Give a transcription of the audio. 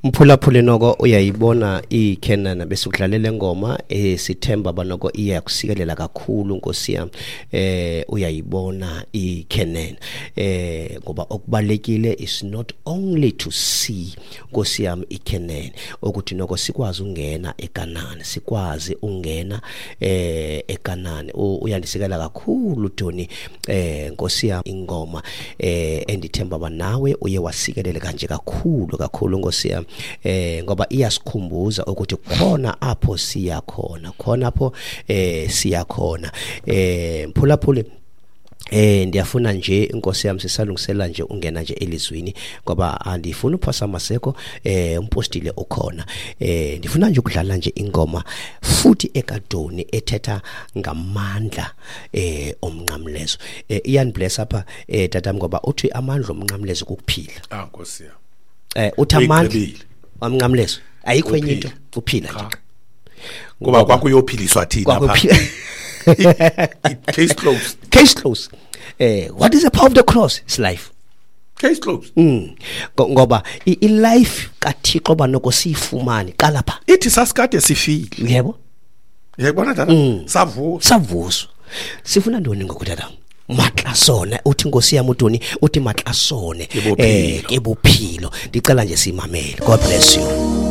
Mphulaphuli noko uyayibona iKhenana besikudlalela ngoma sithemba banoko iyakusikelela kakhulu Nkosi yami. Uyayibona iKhenana, ngoba okubalekile is not only to see, Nkosi yami, iKhenana, ukuthi noko sikwazi ungena eKanani, sikwazi ungena eKanani. Uyandisikela kakhulu Tony, Nkosi yami, ingoma endithemba ba nawe uye wasikelele kanje kakhulu kakhulu, Nkosi yami, ngoba iyasikhumbuza ukuthi khona apho siya khona, khona apho siya khona. Mphulaphuli, ndiyafuna nje, inkosi yami, sisalungisela nje ungena nje elizwini, ngoba andifuni uphosa maseko, umpostile ukhona. Ndifuna nje ukudlala nje ingoma futhi ekadoni ethetha ngamandla omnqamlezo. Iyanibless apha, tatam, ngoba uthi amandla omnqamlezo kukuphila. Ah, Nkosi yami. Uthi amandla omnqamlezo ayikho enye into, uphila nje. Kuba kwakuyophiliswa thina pha. Case closed. Case closed. What is the power of the cross? It's life. Case closed. Ngoba i-life kaThixo banoko siyifumane qala pha. Ithi sasikade sifile. Yebo. Uyayibona, tata? Savuswa. Savuswa. Sifuna ntoni ngoku, tata? Matla sona, uthi Nkosi yami uToni, uthi matla sone. Ke bophilo. Ke bophilo. Ndicela nje simamele. God bless you.